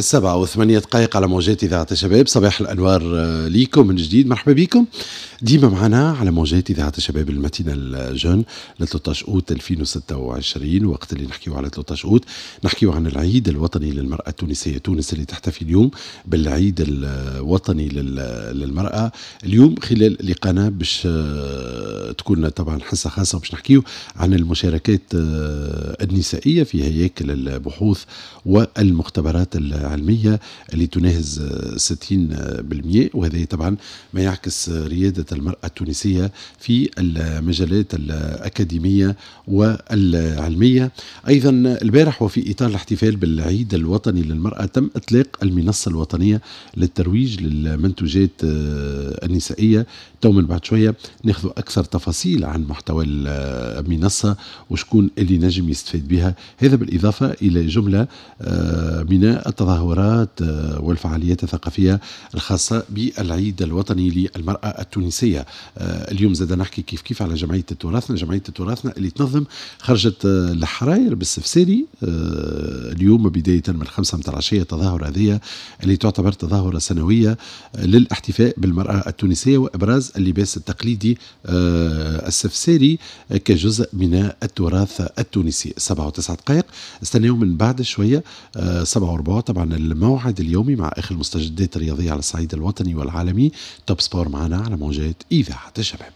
7:08 على موجات إذاعة الشباب. صباح الأنوار ليكم من جديد، مرحبا بكم ديما معنا على موجات إذاعة الشباب ال matinale jeune ل 13 أوت 2026. وقت اللي نحكيو على 13 أوت نحكيو عن العيد الوطني للمرأة التونسية. تونس اللي تحتفي اليوم بالعيد الوطني للمرأة. اليوم خلال لقانا باش تكون طبعا حصة خاصة باش نحكيو عن المشاركات النسائية في هياكل البحوث والمختبرات العلمية اللي تناهز 60%، وهذا طبعا ما يعكس ريادة المرأة التونسية في المجالات الأكاديمية والعلمية. أيضا البارح وفي إطار الاحتفال بالعيد الوطني للمرأة تم إطلاق المنصة الوطنية للترويج للمنتوجات النسائية. تو من بعد شوية ناخذ أكثر تفاصيل عن محتوى المنصة وشكون اللي نجم يستفيد بها، هذا بالإضافة إلى جملة من التظاهرات والفعاليات الثقافية الخاصة بالعيد الوطني للمرأة التونسية. اليوم زاد نحكي كيف كيف على جمعية تراثنا، جمعية تراثنا اللي تنظم خرجت الحراير بالسفساري اليوم بداية من 5 متاع العشية، تظاهرة هذه اللي تعتبر تظاهرة سنوية للاحتفاء بالمرأة التونسية وإبراز اللباس التقليدي السفساري كجزء من التراث التونسي. 7:09، استناو من بعد شوية 7:15 طبعا الموعد اليومي مع آخر المستجدات الرياضية على الصعيد الوطني والعالمي. Top Sport معنا على موجات إذاعة الشباب.